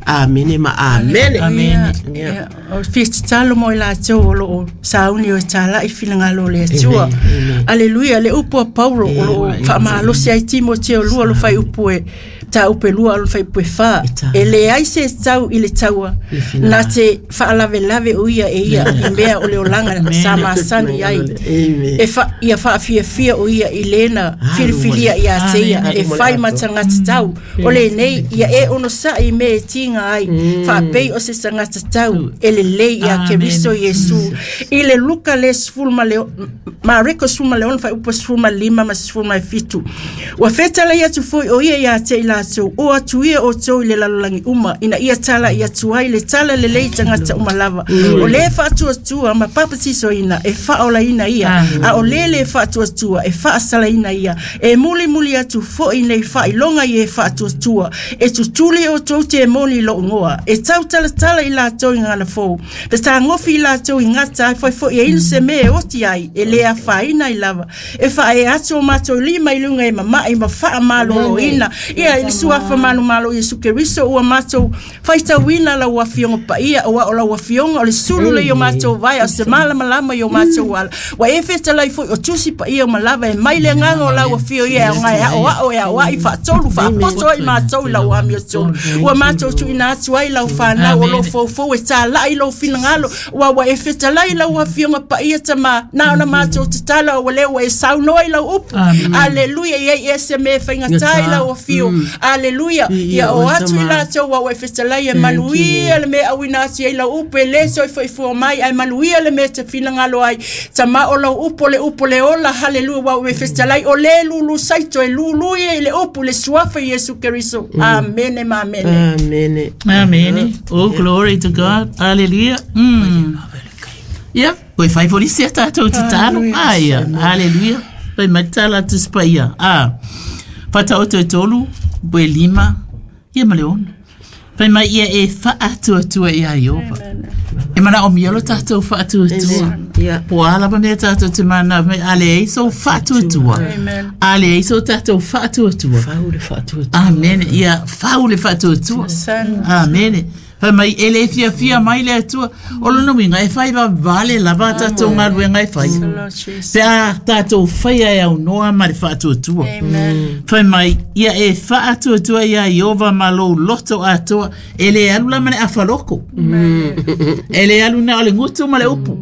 Amene ma amene. Amene. O fia tatalo mo i latou o loo sauni o e tala'i finagalo o le Atua. Aleluia. Le upu a Paulo o loo faamalosi ai Timoteo lua lo faiupu e tāupe lua alo faiupu e fā. E leai se tau i le taua na te faalavelave o ia e ia i mea o le olaga sa masani ai. E fa, ia faafiafia o ia i lena filifilia ia te ia e fai ma tagata tau. O lenei ia e onosa'i mea e tiga ai faapei o se tagata tau e lelei ia Keriso Iesu. I le Luka le sefulu ma le Mareko sefulu ma le ono faiupu sefulu ma lima ma sefulu ma fitu. Ua fetalai atu foi o ia ia te i latou o atu ia o tou i le lalolagi uma ina ia tala i atu ai le tala lelei tagata uma lava. O le faatuatua ma papatisoina e faaolaina ia, a o le le faatuatua e faasalaina ia. E mulimuli atu foi nei faailoga i e faatuatua e tutuli o tou temoni i lou igoa e tautalatala i latou i gagana fou pe tagofi i latou i gata ai foifoi e inu se mea e oti ai e le afaina ai lava e faaee atu o matou lima i luga e mama'i ma faamaloloina ia i le suafa manumalo Iesu Keriso ua matou faitauina lau afioga paia aua o lau afioga o le sulu le i o matou vae o se malamalama i o matou ala. Ua e fetalai foi o tusi paia o malava e mai le agaga o lau afio ia e aoga e aoao e aoai faatolu faapoto ai matou i lau amiotonu. Ua matou tuuina atu ai lau fanau o loo foufou e tala'i lou finagalo ua ua e fetalai lau afioga paia tamā na ona matou tatalo ua lea ua e saunoa i lau upu. Aleluia. Ia i e se mea e faigatā i lau afio. Aleluia. Ia o atu i latou ua ua e fetalai e manuia le mea auina atu ai lau upu e lē soifoifua mai ae manuia le mea te finagalo ai tamā o lau upu o le upu le ola. Haleluia. Ua ua e fetalai o lē lulu saito e lulu ia i le upu le suafa Iesu Keriso. Amene ma amene. Amene. Amene. Oh, glory to God. Hallelujah. Mm. Ia, koe fai fo lisi a tātou tatalo. Aia, hallelujah. Pai mai tala atu sepaia. Ah. Fataoto e tolu, poe lima, ia ma le ono. Fai mai ia e faatuatua ia Ieova. E manaomia lo tatou faatuatua. Po a lava mea tatou te mana mai a leai sou faatuatua. A leai sou tatou faatuatua. Fau le faatuatua. Amene. Ia fau le faatuatua. Amene. Fai mai e le fiafia mai le Atua. O lona uiga e fai vavale lava tatou galuega e fai. Pe a tatou faia e aunoa ma le faatuatua. Fai mai ia e faatuatua ia Ieova ma lou loto atoa. E le alu la ma le afaloko. E le alu na o le gutu ma le upu.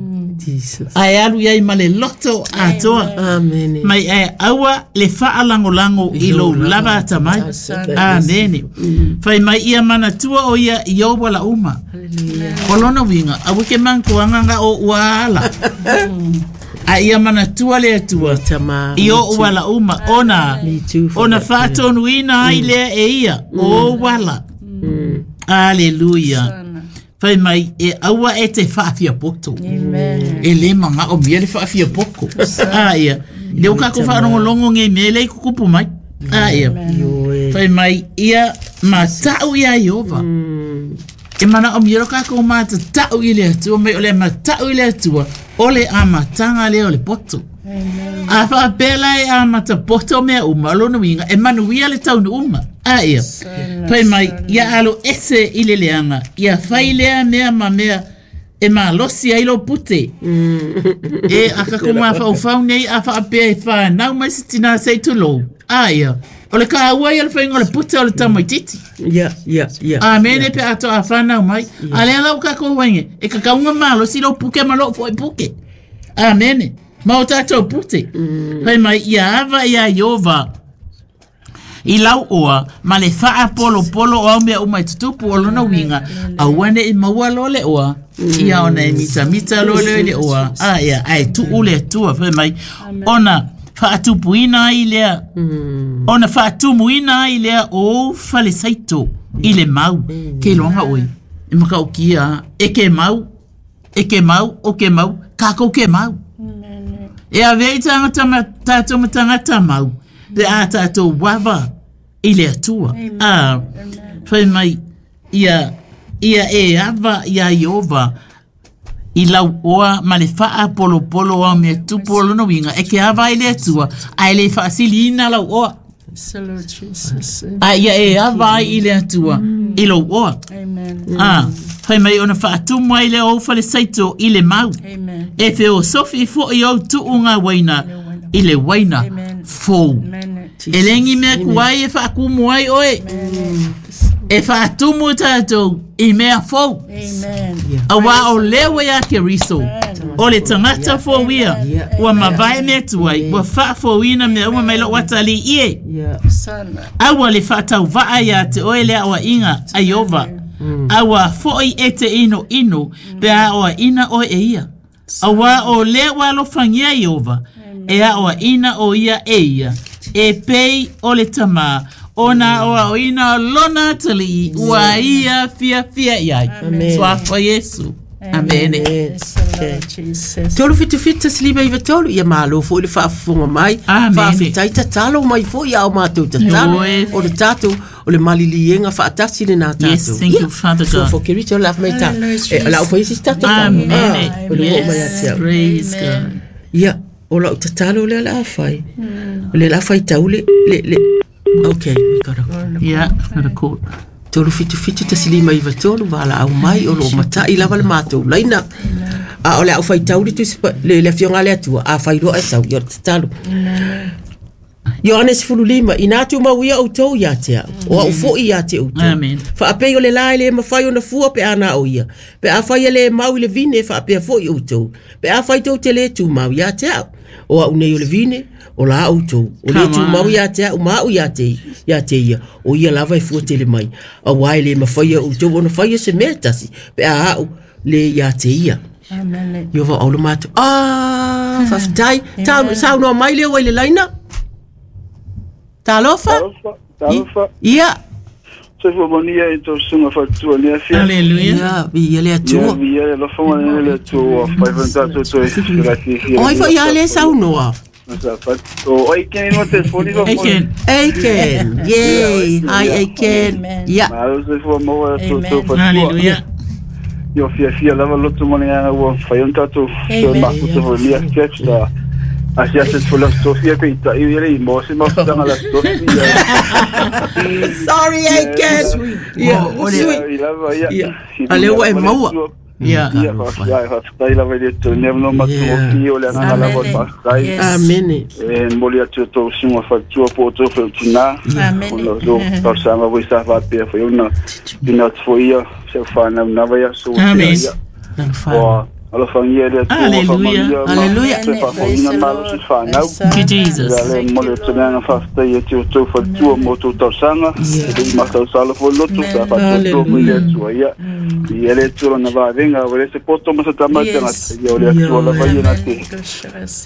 Ae alu iai ma le loto atoa. Amene. Mai e aua le faalagolago i lou lava atamai. Amene. Fai mai ia manatua o ia i ou ala uma. O lona uiga aua ke manatuaga o ua ala. A ia manatua le Atua i ou ala uma ona ona faatonuina ai lea e ia o ou ala. Aleluia. Fai mai e aua e te faafiapoto. E le magao mia le faafiapoko. A ia le o kako faalogologo gei mea lea i kukupu mai. A ia fai mai ia mata'u ia Ieova. E manaomia lo kakou matata'u i le Atua mai o le mata'u i le Atua o le amataga lea o le poto. A faapea la e amata poto mea uma o lona uiga e manuia le taunuuga. A ia fai mai ia alo ese i le leaga ia fai lea mea ma mea e malosi ai lou pute. E a kako mafaufau nei a faapea e fanau mai se tinā sei tulou. A ia o le kāua ia le faiga o le pute o le tamaititi. Ia, ia, ia. Amene pe a toa whanau mai. A lea lau kako wainge, e kakaunga malosi lou puke ma lou fo'i puke. Amene. Ma o tātou pute. Fai mai ia ava ia Ieova i lau oa ma le faapolopolo o au mea uma i tutupu o lona uiga aua ne'i maua loa le oa ia ona e mitamita loa lea i le oa. A ia ae tuu le Atua fai mai ona faatupuina ai lea ona faatumuina ai lea o ou falesaito i le mau ke iloaga oe e makaukia e ke mau e ke mau o ke mau kākou ke mau. E avea i tagata ma tatou ma tagata mau pe a tatou ava i le Atua. A fai mai Ia ia e ava ia Iova i lau oa ma le faapolopolo ao mea tupu o lona uiga e ke ava ai le Atua ae le faasiliina lau oa. A ia e ava ai i le Atua i lou oa. Ah, fai mai ona faatumu ai le ou falesaito i le mau. E feosofi fo'i ou tu'uga uaina i le uaina fou. E legi mea kuai e faakumu ai oe. E faatumu tatou i mea fou. Auā o lea ua iā Keriso o le tagata fou ia ua mavae mea tuai ua faafouina mea uma mai lou atalii e. Aua le faatauvaa iā te oe le aoaiga a Iova. Aua fo'i e te inoino pe a aoaina oe e ia. Auā o lea ua alofagia Iova e aoaina o ia e ia e pei o le tamā ona aoaoina o lona atalii ua ia fiafia i ai. Suafa Iesu. Amene. Tolu fitu fitu tasi lima iva tolu ia malo fo'i le faafofoga mai. Faafetai tatalo mai fo'i ao matou tatalo o le tatou o le maliliega faatasi lenā tatou. Yes, thank you, Father God. Suafa o Keriso le afa mai ta e o le au faisi tatou. Amene. O le oo mai ia te au. Praise God. Ia o lau tatalo lea le a fai. O le la fai tau le le le. Okay, we got a Yeah, got a call. Tolu fitu fitu tasi lima iva tolu vala au mai o lo matai lava le matou laina. A o le au fai tau le tusi le le afioga le Atua a fai loa e sau ia o le tatalo. Ioane sefulu lima ina tumau ia outou ia te au o au fo'i ia te outou. Faapei o le la e lē mafai ona fua pe a na o ia pe a fai e lē mau i le vine faapea fo'i outou pe a fai tou te lē tumau ia te au o au nei o le vine o la outou o lē tumau ia te au ma au ia te ia te ia o ia lava e fua tele mai auā e lē mafai e outou ona faia se mea tasi pe a au lē ia te ia. Iova au le matou. Ah, faafetai. Saunoa mai lea ua i le laina. Talofa. Talofa. Ia. Soifua manuia i tau susuga faatutua le afia. Haleluia. Ia, viia le Atua. Ia, viia le alofaga lena le Atua ua fai foi ona tatou toe felasiasia. O ai foi ia le saunoa. O Aiken no telefoni fa. Aiken. Aiken. Yay. Hi Aiken. Ia. Malo soifua maua e tou faatutua. Haleluia. Ia fiafia lava loto mo le agaga ua fai ona tatou toe mafuta foi le afia sa Asia se full of Sofia pe ita i le mo se mo tanga la Sofia. Sorry Aiken. Yeah, sweet. Ale ua e maua. Yeah. Ia faafetai lava i le Atua nei no matugofie o le agaga lava o le faafetai. Amene. E momoli atu i tou susuga faatutua po o tou feotinā. Ona o tou talosaga foi sa faapea foi ona tuuina atu foi ia se au fanau ia so. Amen. Ua alofagia le Atua ua faamanuia Haleluia. ma faafofoga malosi fanau. Thank you, Jesus. Ia le momoli atu le agaga faafetai ia te outou faletua mo outou talosaga. E le i matausala foi loto sa faatuatua foi le Atua ia. Ia le Atua lona vavega ua le se poto ma se tama i tagata. Ia o le Atua lava ia na te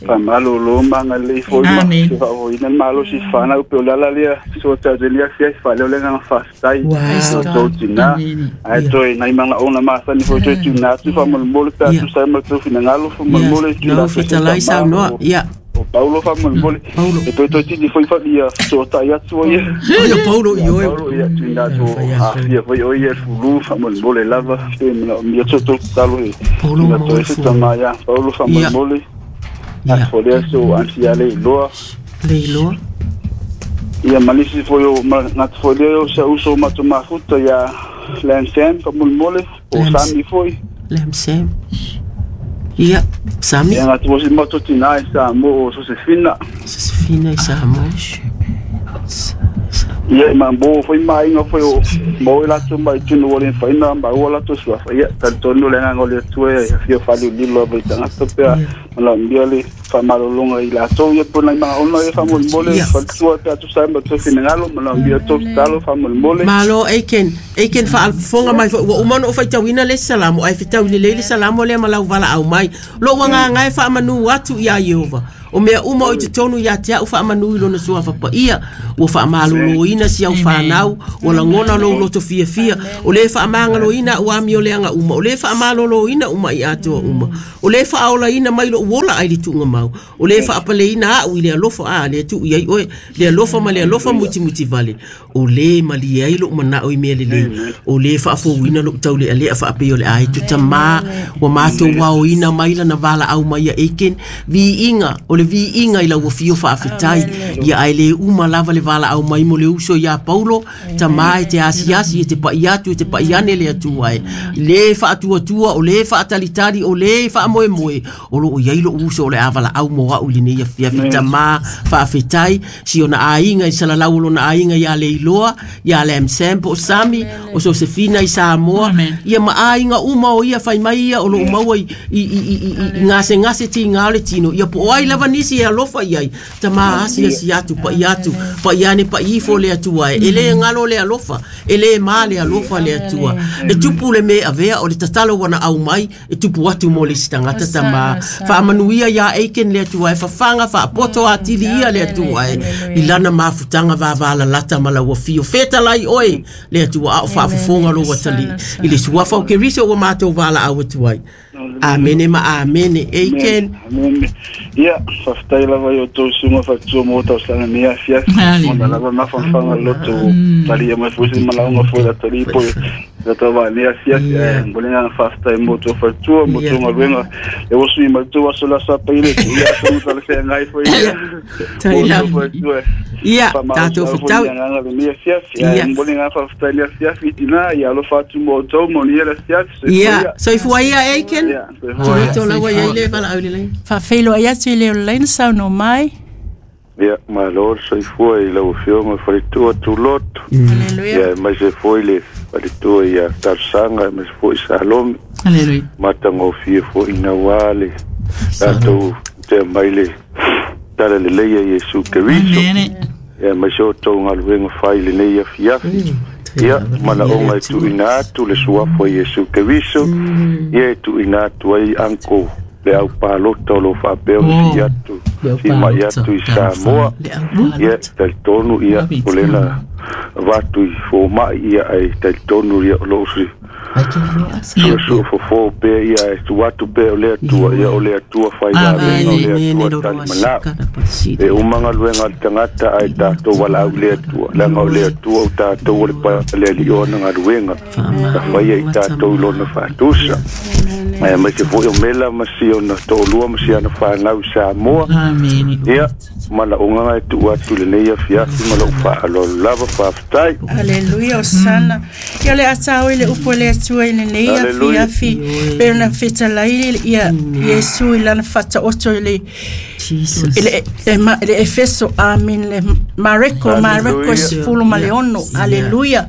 faamalolo ma agalelei foi ma se faafofogaina le malosi fanau pe o le ala lea so tatou le afia faaleo le agaga faafetai o outou tinā. Ae toe nai magaoga masani foi toe tuuina atu faamolemole pe a tusa ai ma le tou finagalo faamolemole tuuina Lau atu se fetalai tama saunoa. o Ia. o Paulo faamolemole e toe toe titi foi ia fesoatai atu ai O ia Paulo ia i oe. Paulo ia tuuina atu aafia foi o ia fulu faamolemole lava pe manaomia so tou tatalo e Paulo tuuina maua atu ai le se fulu. tama ia Paulo faamolemole Ia. atu lea so ansia le iloa Le iloa. ia ma nisi foi o gata foi lea o sa uso o matou mafuta ia Lam Sam faamolemole o Lam- Sami foi Lam Sam. Ia. Sami. ia gata foi si matou tinā i Samoa o Sosefina Sosefina i Samoa. Ia ma mo foi maaiga foi o mo i latou mai tunu o le faina maua latou suafa ia talitonu le agaga o le Atua e afio faaliulilo lava i tagata pe a manaomia le faamalologa i latou ia po nai magaoga ia faamolemole Ia. faletua pe a tusa ai ma tou finagalo manaomia tou tatalo faamolemole. Malo Aiken. Aiken faafofoga mai foi ua uma ona ou faitauina le salamo ae fetau lelei le salamo lea ma lau valaau mai. Lou agaga e faamanu atu iā Iova. O mea uma o i te tonu ia te au whaamanu i lona suafa pa ia. Ua whaamaloloina si au whanau. Ua langona lo loto fia fia. O le whaamangaloina ua ami o leanga uma. O le whaamaloloina uma i atoa uma. O le whaaolaina mai lo uola ai li tuunga mau. O le whaapaleina au i le alofa a le tu i ai oe. Le alofa ma le alofa muti muti vale. O le mali ai lo manao i mea lelei. O le whaafouina lo taule alea whaapeo le ai tutama. Ua mātou wao ina maila na wala au mai a eken. Vi inga, o le vi inga i la ua fio whaafetai. Ia ai le uma lava le wala au mai mo le uso ia Paulo. Tama e te asiasi e te pai atu e te pai ane le atua e. Le whaatuatua, o le whaatalitali, o le whaamoe moe. O lo o iai lo uso o le avala au mo au li nei afia fitama whaafetai. Si ona ainga i salalau o lona ainga ia le iloa, ia le Msampo o Sami, o Sosefina i Samoa. Ia ma ainga uma o ia whai mai ia o lo maua i, i, i, i, i, i ngase ngase ti ngā le tino. Ia po ai lava nisi e alofa iai. Tama asi asi atu, pa i atu, pa i ane pa ifo le atua e. E le ngalo le alofa, e le ma le alofa le atua. E tupu le me avea o le tatalo wana au mai, e tupu atu mo le sitangata tama. Whaamanuia ia eiken le atua e, whawhanga, whaapoto atili ia le atua e. I lana mafutanga vavala lata mala ua fio. Whetalai oe le atua ao whaafufonga lo watali. I le suafa o Keriso ua mātou wala au atuai. Amene ma amene. Eiken. Amene. Ia, whaftai lava i o tō sunga whatua mō tau sanga mea fia. Mona lava mawhanwhanga loto. Tali e mai fusi malaunga fo la tali po. La tawa mea fia. Mbolenga whaftai mō tō whatua, mō tō ngaluenga. E wasu i matua waso la sa paile. Ia, tō tala se ngai fo ia. Tai lava. Ia, tātou whitau. Ia, mbolenga whaftai lea fia fitina. Ia, alofa atu mō tō, mō nia la fia. Ia, soifua ia Eiken. Tuloto lawa ia ile wala au lelei. Whawheilo ai atu i leo leina sau no mai. Ia, malo soifua i lau afioga faletua tuloto. Haleluya. Ia, mai se foi le faletua ia Tarsanga, mai se foi Salome. Haleluya. Matagofie foi ina ua le tatou tea mai le tala lelei a Iesu Keriso. Ia, mai se o tou galuega fai lenei afiafi. Ia, manaoga e tuuina atu le suafa o Iesu Keriso. Ia e tuuina atu ai anko le au palota o lo faapea o si atu, si mai atu i Samoa. Ia, talitonu ia, o lena vatu i fōma'i ia ai talitonu ia o loo si suasua fofo pea ia e tu atu pea o le atua, ia o le atua whai vavenga o le atua talimanao. E umanga luenga le tangata ai tātou wala au le atua, langa o le atua o tātou o le pa le ali ona ngaluenga, ka whaia i tātou lona whaatusa. Mai mai se foi o mela ma si ona to'olua ma si ana whanau Samoa. Ia, mana onganga e tuu atu lenei afiafi ma lou fa'aloalo lava fa'afetai. Haleluia, osana. Ia le atao i le upu le atua i lenei afiafi. Pe ona fetalai ia Iesu i lana fataoto i le le le Efeso, amen, le Mareko, Mareko sefulu ma le ono. Haleluia.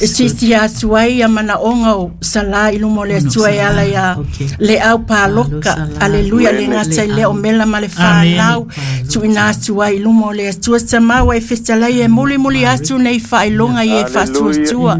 E sisi atu ai ia manaoga o salā i luma o le Atua e ala ia le au paloka. Aleluia, le gata i lea o mela ma le whanau. Tuina atu ai i luma o le Atua tamau e fetalai e mulimuli atu nei faailoga i e faatuatua.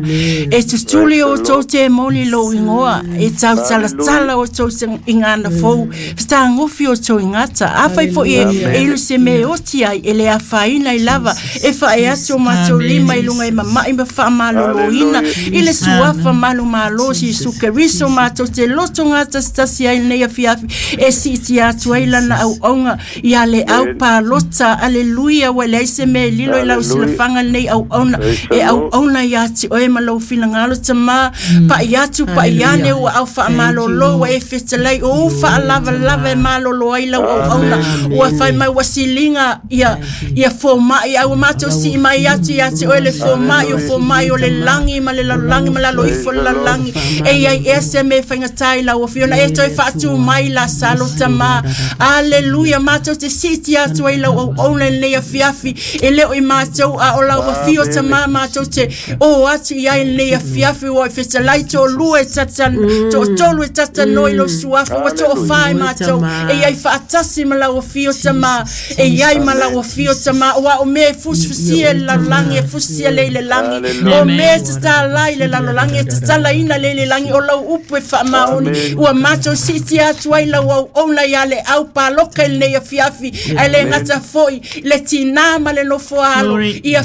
E tutuli o tou te moli lou igoa, e tautalatala o tou igana fou, fetagofi o tou igata. Afai foi e ilu se me oti ai, e le afaina i lava, e fae atu o matou lima i luga e mama'i ma faamalolo ina i le suafa malu malo si Iesu Keriso matou te loto gatasitasi ai lenei afiafi e siiti atu ai lana auauga ia le au palota. Aleluia, ua leai se mea e lilo i lau silafaga lenei auauna e auauna ia te oe ma lou finagalo tamā pa'i atu pa'i ane ua au faamalolo ua e fetalai o ou faalavalava e malolo ai lau auauna ua fai mai ua siliga ia ia foma'i ai ua matou sii mai atu ia te oe le foma'i o foma'i o le langi ma le lalolagi ma lalo ifo le lalolagi e iai ea se me faigata i lau afiona e toe faatu mai la salo tamā. Aleluia, matou te siiti atu ai lau auauna i lenei afiafi e leo i matou a o lau afio tamā matou te o atu i ai lenei afiafi ua e fetalai to'olua e tata to'atolu e tatanoa i lou suafa ua to'ofā i matou e iai faatasi ma lau afio tamā e iai ma lau afio tamā ua o mea e fusifusia i le lalolagi e fusia lea i le lagi o mea tatala ai le lalolagi e tatalaina le lelagi o lau upu e faamaoni ua matou siitia atu ai lau auauna ia le au paloka i lenei afiafi ae le gata foʻi le tinā ma le nofoa alo ia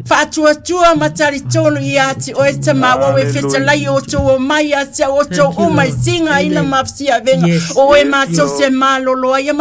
faatuatua ma talitonu ia ati oe tamāuau e fetalai o outou o mai ia te au outou uma i tigaina ma fesiavega o oe matou te malolo ai.